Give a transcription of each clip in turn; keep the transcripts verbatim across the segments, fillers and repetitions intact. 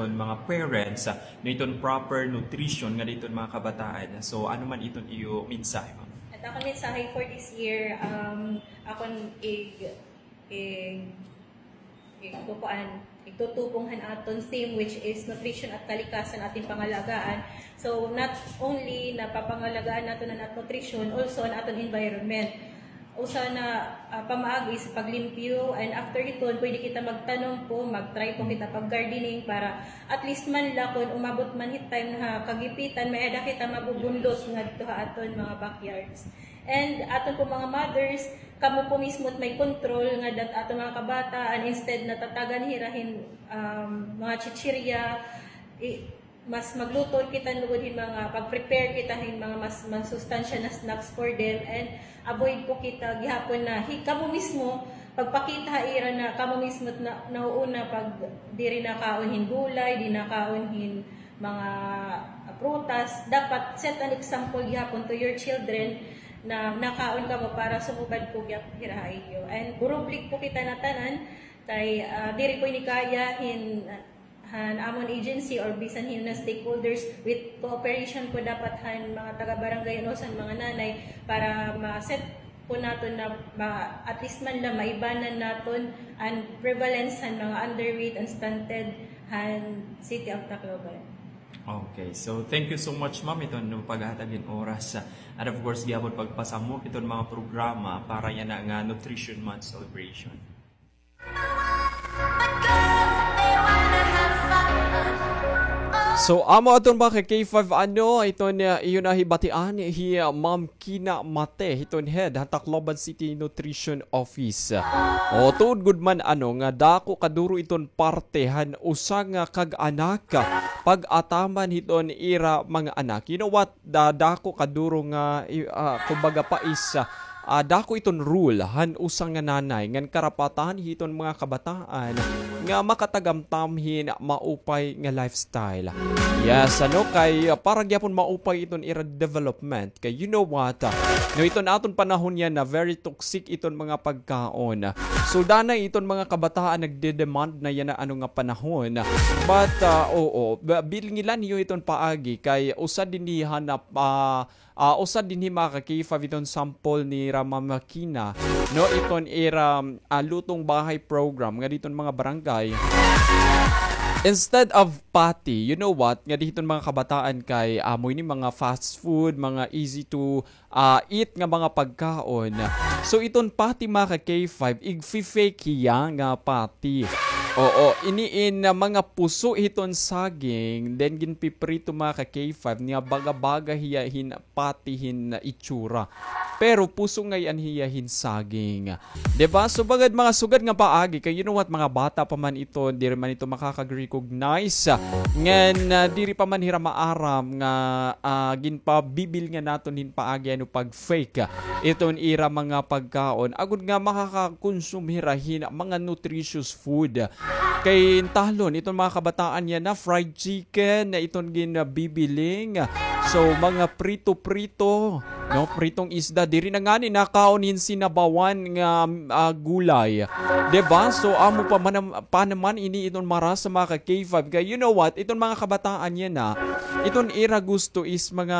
mga parents, ah, no, iton proper nutrition nga diton mga kabataan. So, ano man iton iyo mensahe, ma'am? At akon mensahe for this year, um, akon ig-, ig-, igkukuan, igtutubong han aton theme, which is nutrition at kalikasan ating pangalagaan. So, not only napapangalagaan naton an aton nutrition, also an aton environment. Usa na, ah, pamaagi sa paglimpyo, and after hiton, pwede kita magtanom po, mag-try po kita pag-gardening para at least man la kun umabot man hit time ha kagipitan, may-ada kita mabubundot ngadto ha aton mga backyards. And aton po mga mothers, kamo po mismo it may control nga dat aton mga kabataan, instead na tatagan hira hin, um, mga chichirya, i-, mas magluto kita lugod hin mga, pag-prepare kita hin mga mas masustansya na snacks for them, and avoid po kita gihapon na hi-, kamo mismo, pagpakita ha ira na kamo mismo na, nauuna pag diri nakaon hin gulay, di nakaon hin mga prutas. Dapat set an example gihapon to your children na nakaon kamo para sumugad po gihapon hira ha iyo. And burublig po kita na tanan kay, ah, diri po ini kaya hin han amon agency or bisan hin na stakeholders, with cooperation po dapat han mga taga-barangay and also han mga nanay para ma-set po naton na ma-, at least man la maibanan naton an prevalence han mga underweight and stunted han City of Tacloban. Okay, so thank you so much, ma'am, iton paghatag hin oras, ah, and of course gihapon pagpasamok iton mga programa para yana nga Nutrition Month celebration. So, amo aton mga ka-K five, ano, iton, uh, iyo na hibatian hi, uh, Ma'am Kina Mate, hiton head han Tacloban City Nutrition Office. O, tuod gud man, ano, nga dako kaduro iton parte han usa nga kag-anak, pag-ataman hiton ira mga anak. You know what? Da-, dako kaduro nga, i-, ah, kumbaga pa is, ah, dako iton role han usa nga nanay ngan karapatan hiton mga kabataan nga makatagamtam hin maupay nga lifestyle. Yes, ano, kay, ah, para gyapon maupay iton ira development. Kay you know what, ah, no, iton aton panahon yana very toxic iton mga pagkaon. So, danay iton mga kabataan nagde-demand na yana, ano, nga panahon. But, ah, oo, ba-, bilngilan niyo iton paagi kay usa dinhi han, ah, ah, usa dinhi mga ka-K five iton sample ni Rama Makina, no, iton ira, ah, lutong bahay program nga diton mga barangay. Instead of patty, you know what, nga diton mga kabataan kay amo ini mga fast food, mga easy to, ah, eat nga mga pagkaon. So, iton patty, mga ka-K five, igfi-fake hiya nga patty. Oo, ini in, ah, mga puso hiton saging, then ginpiprito, mga ka-K five, niya baga-baga hiya hin patty hin itsura. Pero puso ngay-an hiya hin saging. Di ba? So, bagad mga sugad nga paagi, kay you know what, mga bata pa man ito, diri man ito makakag-recognize. Ngan, ah, diri pa man hira maaram nga, ah, ginpabibilngan naton hin paagi, ano, pag-fake iton ira mga pagkaon. Agod nga makakakonsume hira hin mga nutritious food. Kay talon, iton mga kabataan yana, fried chicken, na iton ginbibiling. So, mga prito-prito, no? Pritong isda. Diri na ngani nakaon hin sinabawan nga, ah, gulay. Di ba? So, amo pa man, pa naman ini iton marasa, mga ka-K five. Kay, you know what? Iton mga kabataan yana, iton ira gusto is mga,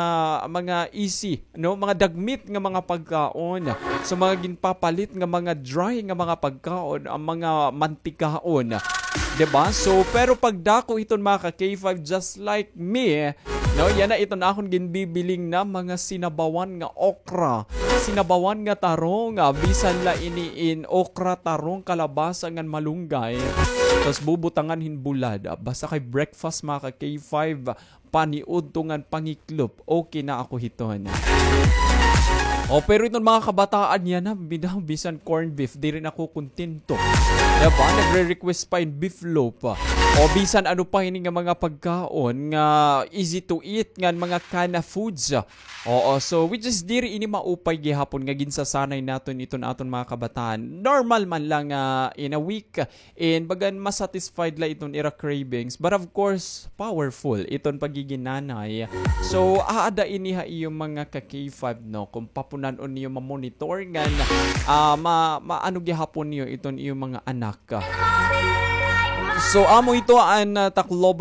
mga easy, no, mga dagmit nga mga pagkaon. So, mga ginpapalit nga mga dry nga mga pagkaon, ang mga mantikaon. Di ba? So, pero pagdako iton mga ka-K five, just like me, no, yana iton akon ginbibiling na mga sinabawan nga okra, sinabawan nga tarong, ah, bisan la ini in okra, tarong, kalabasa ngan malunggay. Tas bubutangan hin bulad. Ah, basta kay breakfast, mga ka-K five, paniudto ngan pangiklop, okay na ako hiton. O, pero iton mga kabataan yana, bida-, bisan corned beef, diri na ako kontento. Diba? Nagre-request pa hin beef loaf. O, bisan ano pa ini nga mga pagkaon nga easy to eat, nga mga kana foods. Oo, so, which is diri ini maupay gihapon nga ginsasanay naton iton aton mga kabataan. Normal man lang nga in a week, and bagan masatisfied la iton ira cravings. But of course, powerful iton pagiging nanay. So, aada ini ha iyo mga ka-K five, no? Kung papunan-on niyo ma-monitor ngan, ah, ma-, maano gihapon niyo iton iyo mga anak. So, amo ito an, ah, Tacloban